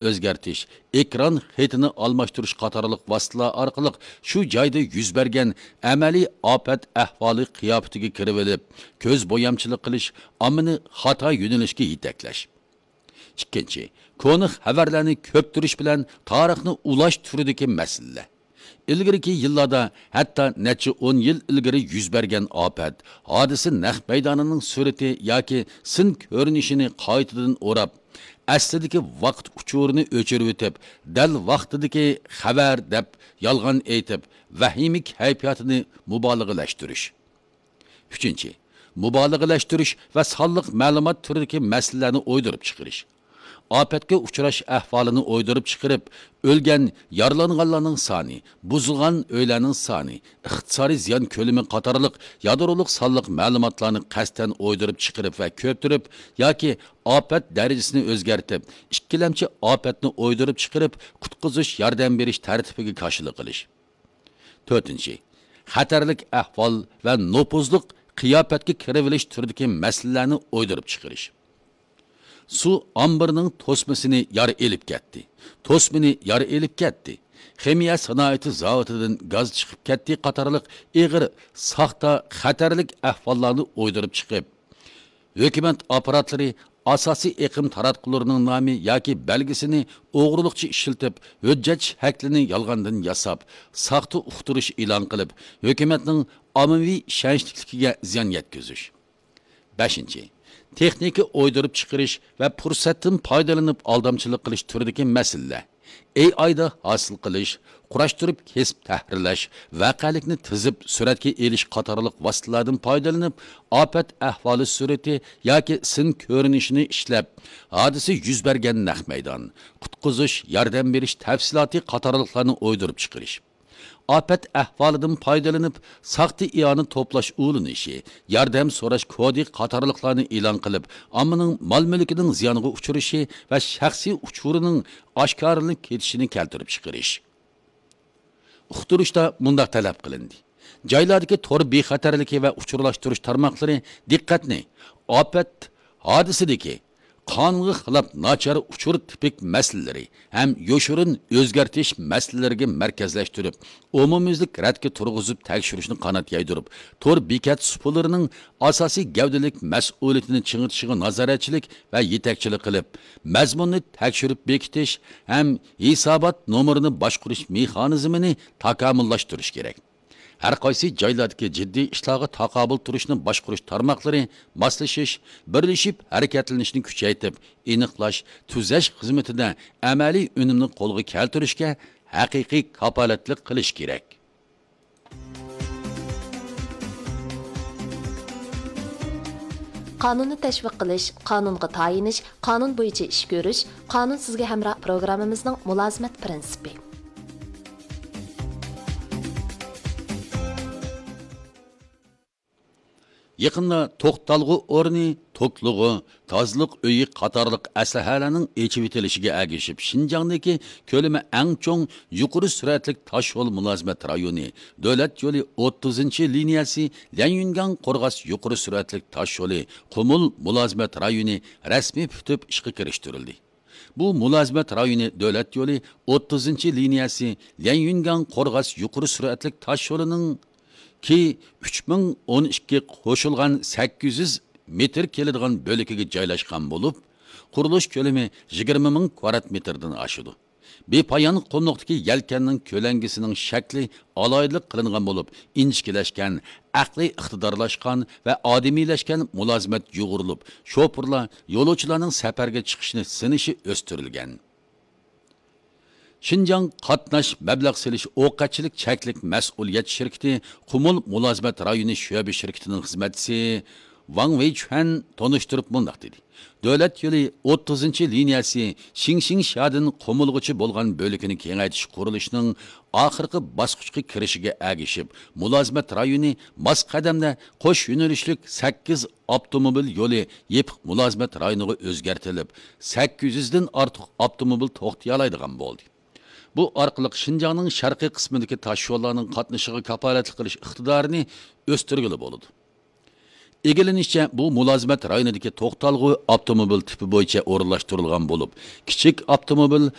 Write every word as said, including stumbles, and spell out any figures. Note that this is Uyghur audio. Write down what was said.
ئۆزگەرتىش، ئېكران خېتىنى ئالماشتۇرۇش قاتارلىق ۋاسىتىلەر ئارقىلىق شۇ جايدا يۈز بەرگەن ئەمەلىي ئاپەت ئەھۋالى قىياپىتىگە كىرىۋېلىپ، كۆز بويامچىلىق قىلىش، ئاممىنى خاتا يۆنىلىشكە يېتەكلەش. ئىككىنچى، كونا خەۋەرلەرنى كۆپتۈرۈش بىلەن تارىخنى ئۇلاش تۈرىدىكى مەسىلىلەر. ئىلگىرىكى يىللاردا، ھەتتا نەچچە ئون يىل ئىلگىرى يۈز بەرگەن ئاپەت، ھادىسە نەق مەيدانىنىڭ سۈرىتى ياكى سىن كۆرۈنۈشىنى قايتىدىن ئوراپ، ئەسلىدىكى ۋاقىت ئۇچۇرىنى ئۆچۈرۈۋېتىپ، دەل ۋاقتىدىكى خەۋەر دەپ يالغان ئېيتىپ، ۋەھىمە كەيپىياتىنى مۇبالىغىلەشتۈرۈش. ئۈچىنچى، مۇبالىغىلەشتۈرۈش ۋە سانلىق مەلۇمات تۈرىدىكى مەسىلىلەرنى ئويدۇرۇپ چىقىرىش. ئاپەتكە ئۇچراش ئەھۋالىنى ئويدۇرۇپ چىقىرىپ، ئۆلگەن، يارىلانغانلارنىڭ سانى، بۇزۇلغان ئۆيلەرنىڭ سانى، ئىقتىسادىي زىيان كۆلىمى قاتارلىق يادرولۇق سانلىق مەلۇماتلارنى قەستەن ئويدۇرۇپ چىقىرىپ ۋە كۆپتۈرۈپ ياكى ئاپەت دەرىجىسىنى ئۆزگەرتىپ، ئىككىلەمچى ئاپەتنى ئويدۇرۇپ چىقىرىپ، قۇتقۇزۇش، ياردەم بېرىش تەرتىپىگە كاشىلا قىلىش. تۆتىنچى، خەتەرلىك ئەھۋال ۋە نوپۇزلۇق قىياپەتكە كىرىۋېلىش تۈرىدىكى مەسىلىلەرنى ئويدۇرۇپ چىقىرىش. سۇ ئامبىرىنىڭ توسمىسىنى يار ئېلىپ كەتتى. توسمىنى يار ئېلىپ كەتتى. خىمىيە سانائىتى زاۋۇتىدىن گاز چىقىپ كەتتى قاتارلىق ئېغىر، ساختا، خەتەرلىك ئەھۋاللارنى ئويدۇرۇپ چىقىپ، ھۆكۈمەت ئاپپاراتلىرى ئاساسىي ئېقىم تاراتقۇلىرىنىڭ نامى ياكى بەلگىسىنى ئوغرىلىقچە ئىشلىتىپ، ھۆججەت شەكلىنى يالغاندىن ياساپ، ساختا ئۇقتۇرۇش ئېلان قىلىپ، ھۆكۈمەتنىڭ ئاممىۋى ئىشەنچلىكلىكىگە زىيان يەتكۈزۈش. بەشىنچى، تېخنىكا ئويدۇرۇپ چىقىرىش ۋە پۇرسەتتىن پايدىلىنىپ ئالدامچىلىق قىلىش تۈرىدىكى مەسىلىلەر. ئېي ئايدا ھاسىل قىلىش، قۇراشتۇرۇپ كېسىپ تەھرىرلەش، ۋەقەلىكنى تىزىپ سۈرەتكە ئېلىش قاتارلىق ۋاسىتىلەردىن پايدىلىنىپ، ئاپەت ئەھۋالى سۈرىتى ياكى سىن كۆرۈنۈشىنى ئىشلەپ، ھادىسە يۈز بەرگەن نەق مەيدان، قۇتقۇزۇش، ياردەم بېرىش تەپسىلاتى قاتارلىقلارنى ئويدۇرۇپ چىقىرىش. ئاپەت ئەھۋالىدىن پايدىلىنىپ، ساختا ئىئانە توپلاش ئۇلىنىشى، ياردەم سوراش كودى قاتارلىقلارنى ئېلان قىلىپ، ئاممىنىڭ مال-مۈلكىنىڭ زىيانغا ئۇچرىشى ۋە شەخسىي ئۇچۇرىنىڭ ئاشكارىلىنىپ كېتىشىنى كەلتۈرۈپ چىقىرىش. ئۇقتۇرۇشتا مۇنداق تەلەپ قىلىندى: جايلاردىكى تور بىخەتەرلىكى ۋە ئۇچۇرلاشتۇرۇش تارماقلىرى دىققەتنى ئاپەت ھادىسىدىكى قانۇنغا خىلاپ ناچار ئۇچۇر تىپىك مەسىلىلىرى ھەم يوشۇرۇن ئۆزگەرتىش مەسىلىلىرىگە مەركەزلەشتۈرۈپ، ئومۇميۈزلۈك رەتكە تۇرغۇزۇپ تەكشۈرۈشنى قانات يايدۇرۇپ، تور بېكەت سۇپىلىرىنىڭ ئاساسىي گەۋدىلىك مەسئۇلىيىتىنى چىڭىتىشىغا نازارەتچىلىك ۋە يېتەكچىلىك قىلىپ، مەزمۇننى تەكشۈرۈپ بېكىتىش ھەم ھېسابات نومۇرىنى باشقۇرۇش مېخانىزمىنى تاكامۇللاشتۇرۇش كېرەك. ھەر قايسى جايلاردىكى جىددىي ئىشلارغا تاقابىل تۇرۇشنى باشقۇرۇش تارماقلىرى ماسلىشىش، بىرلىشىپ ھەرىكەتلىنىشنى كۈچەيتىپ، ئېنىقلاش، تۈزەش خىزمىتىدە ئەمەلىي ئۈنۈمنى قولغا كەلتۈرۈشكە ھەقىقىي كاپالەتلىك قىلىش كېرەك. قانۇننى تەشۋىق قىلىش، قانۇنغا تايىنىش، قانۇن بويىچە ئىش كۆرۈش، قانۇن سىزگە ھەمراھ پروگراممىمىزنىڭ مۇلازىمەت پىرىنسىپى. يېقىندا توختالغۇ ئورنى، توكلىغۇ، تازىلىق ئۆيى قاتارلىق ئەسلىھەلەرنىڭ ئېچىۋېتىلىشىگە ئەگىشىپ، شىنجاڭدىكى كۆلىمى ئەڭ چوڭ يۇقىرى سۈرئەتلىك تاشيول مۇلازىمەت رايونى، دۆلەت يولى ئوتتۇزىنچى لىنىيەسى ليەنيۈنگاڭ قورغاس يۇقىرى سۈرئەتلىك تاشيولى قۇمۇل مۇلازىمەت رايونى رەسمىي پۈتۈپ ئىشقا كىرىشتۈرۈلدى. بۇ مۇلازىمەت رايونى دۆلەت يولى ئوتتۇزىنچى لىنىيەسى ليەنيۈنگاڭ قورغاس يۇقىرى سۈرئەتلىك تاشيولىنىڭ كى ئۈچ مىڭ ئون ئىككى قوشۇلغان سەككىز يۈز مېتىر كېلىدىغان بۆلىكىگە جايلاشقان بولۇپ، قۇرۇلۇش كۆلىمى يىگىرمە مىڭ كۋادرات مېتىردىن ئاشىدۇ. بىپايان قۇملۇقتىكى يەلكەننىڭ كۆلەڭگىسىنىڭ شەكلى ئالاھىدىلىك قىلىنغان بولۇپ، ئىنچىكىلەشكەن، ئەقلىي ئىقتىدارلاشقان ۋە ئادىمىيلەشكەن مۇلازىمەت يۇغۇرۇلۇپ، شوپۇرلار يولۇچىلارنىڭ سەپەرگە چىقىشىنى سىنىشى ئۆستۈرۈلگەن. شىنجاڭ قاتناش مەبلەغ سېلىش ئوقەتچىلىك چەكلىك مەسئۇلىيەت شىركىتى قۇمۇل مۇلازىمەت رايونى شۆبە شىركىتىنىڭ خىزمەتچىسى ۋاڭ ۋېيچۈەن تونۇشتۇرۇپ مۇنداق دېدى: دۆلەت يولى ئوتتۇزىنچى لىنىيەسى شىڭشىڭشيادىن قۇمۇلغىچە بولغان بۆلىكىنى كېڭەيتىش قۇرۇلۇشىنىڭ ئاخىرقى باسقۇچقا كىرىشىگە ئەگىشىپ، مۇلازىمەت رايونى ماس قەدەمدە قوش يۆنىلىشلىك سەككىز ئاپتوموبىل يولى يېپىق مۇلازىمەت رايونىغا ئۆزگەرتىلىپ، سەككىز يۈزدىن ئارتۇق ئاپتوموبىل توختىيالايدىغان بولدى. بۇ ئارقىلىق شىنجاڭنىڭ شەرقىي قىسمىدىكى تاشيوللارنىڭ قاتنىشىغا كاپالەتلىك قىلىش ئىقتىدارىنى ئۆستۈرگىلى بولىدۇ. ئىگىلىنىشىچە، بۇ مۇلازىمەت رايونىدىكى توختالغۇ ئاپتوموبىل تىپى بويىچە ئورۇنلاشتۇرۇلغان بولۇپ، كىچىك ئاپتوموبىل